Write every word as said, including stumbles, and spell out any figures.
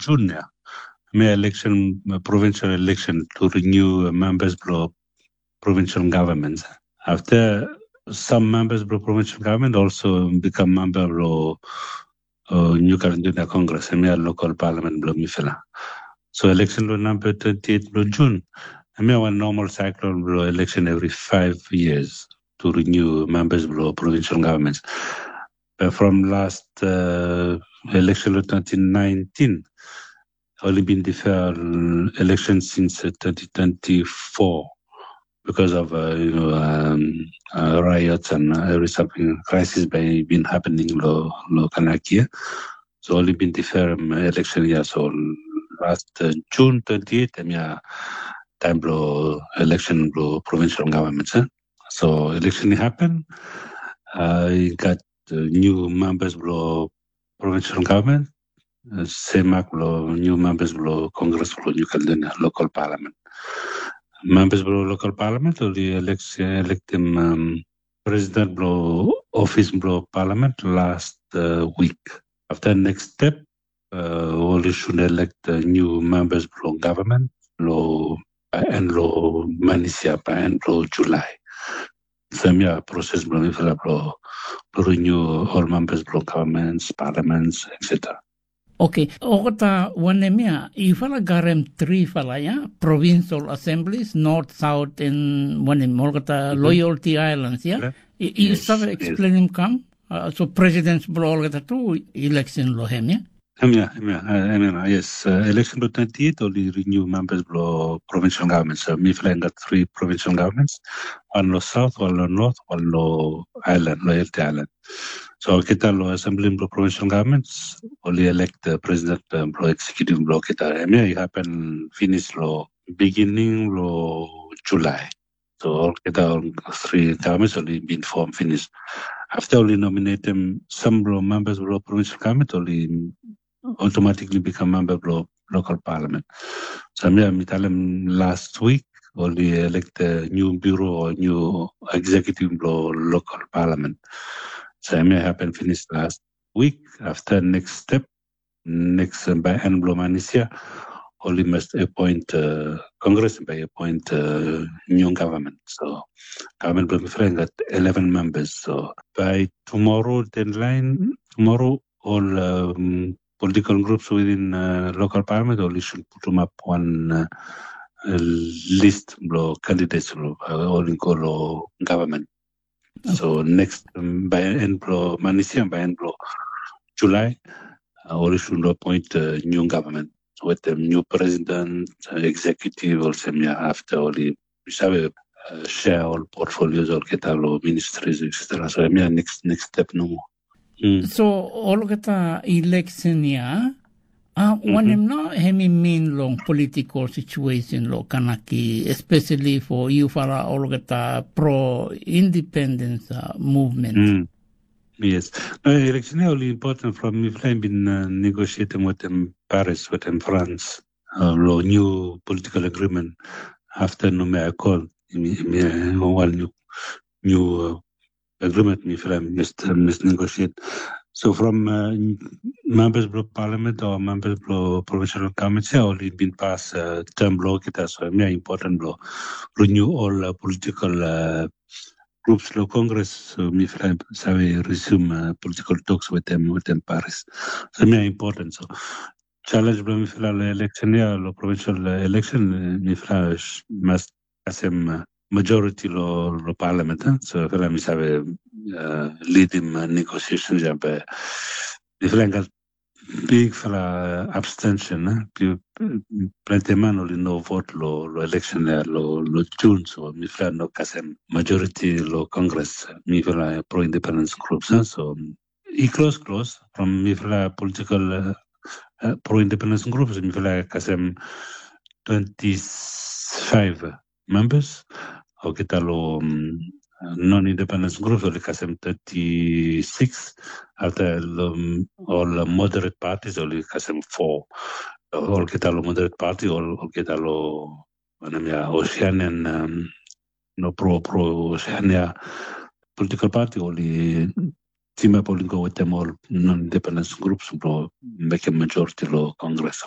Jun ya. Hemia eleksen, provincial election to renew members blong provincial government. Afta, sam members blong provincial government also become member blong New Caledonia Congress, hemia local parliament blong mifala. So election long number twenty-eight blong June, hemia wan normal cycle blong election every five years to renew members blong provincial governments. But from last uh, election long twenty nineteen, oli bin defer election since uh, twenty twenty-four because of uh, you know um, uh, riots and uh, every something crisis by been happening lo lo Kanakia. So oli bin defer um, election ya. So last uh, June twenty-eight, hemia time blong election blong provincial government. Eh? So election i happen. Uh, i gat uh, new members blong provincial government, uh, semak blong new members blong Congress blong New Caledonia local parliament. Members blong local parliament oli elect, electim um, president blong office blong parliament last uh, week. Afta next step, uh, oli should elect uh, new members blong government lo by end lo manis ya, by end lo July. Sem ya proses blong mifala blong renew ol members blong governments, parliaments, et cetera. Okay, olgeta wanem ya, yufala garem trifala ya, provincial assemblies, north, south, and wanem, olgeta loyalty islands ya. You save explainim kam? Uh, so presidents blong olgeta tu election lo hem ya. Hemia, hemia, hemia, yes. Uh, election blong twenty-eight oli renew members blong provincial government. So mifala i gat three provincial governments, wan lo south, wan lo north, wan lo island, lo L T island. So olgeta lo assembly blong provincial governments oli elect uh, president uh, blong executive blong olgeta. Hemia i happen finish lo beginning lo July. So olgeta ol three governments oli bin form finish. Afta oli nominatem sam blong members blong provincial government oli automatically become member blong local parliament. So hemia mi talem last week oli elect a new bureau o new executive blong local parliament. So hemia happen finish last week. Afta next step, next uh, by end blong manis ya, oli must appoint uh, Congress by appoint uh, new government. So government blong mifala i gat eleven members. So by tomorrow deadline, tomorrow ol um, political groups within uh, local parliament oli should putum ap wan uh, list blong candidates blong uh, oli go lo government. So next um, by end blong manis ya, by end blong July, uh, oli should appoint uh, new government wetem new president, uh, executive, olsem ya. Afta oli yu save uh, share ol portfolios olgeta lo ministries, et cetera. So hemia next next step nomo. So olgeta election ya, uh, wanem nao hemi mean long political situation lo Kanaki, especially for yufala olgeta pro independence uh, movement? Yes. No, election ya oli important from mifala i bin uh, negotiating wetem Paris, wetem France, uh, lo new political agreement afta Noumea Accord. Hemi hemi uh, wan new new uh, agreement mifala i must uh, must negotiate. So from uh, members blong parliament o members blong provincial government ya oli bin pas uh, term blong olgeta. So hemia important blong renew ol uh, political uh, groups lo Congress. So mifala i save resume uh, political talks wetem wetem Paris. So hemia important. So challenge blong mifala lo election ya, lo provincial uh, election, uh, mifala must kasem uh, majority lo lo parliament. Uh. So mifala mi save uh, leadim uh, negotiations ya, be mifala i gat bigfala abstention. Plante man oli no vote lo lo election ya lo lo June. So mifala no kasem majority lo Congress, mifala pro independence groups. So i klos klos from mifala political uh, uh, pro independence groups, mifala kasem twenty-five members. Olgeta lo um, non independence groups oli kasem thirty-six. Afta lo um, ol moderate parties oli kasem four. Olgeta lo moderate party ol olgeta lo wanem ya, Oceanian um, no pro pro Oceania political party oli team up oli go wetem ol non independence groups blong mekem majority lo Congress.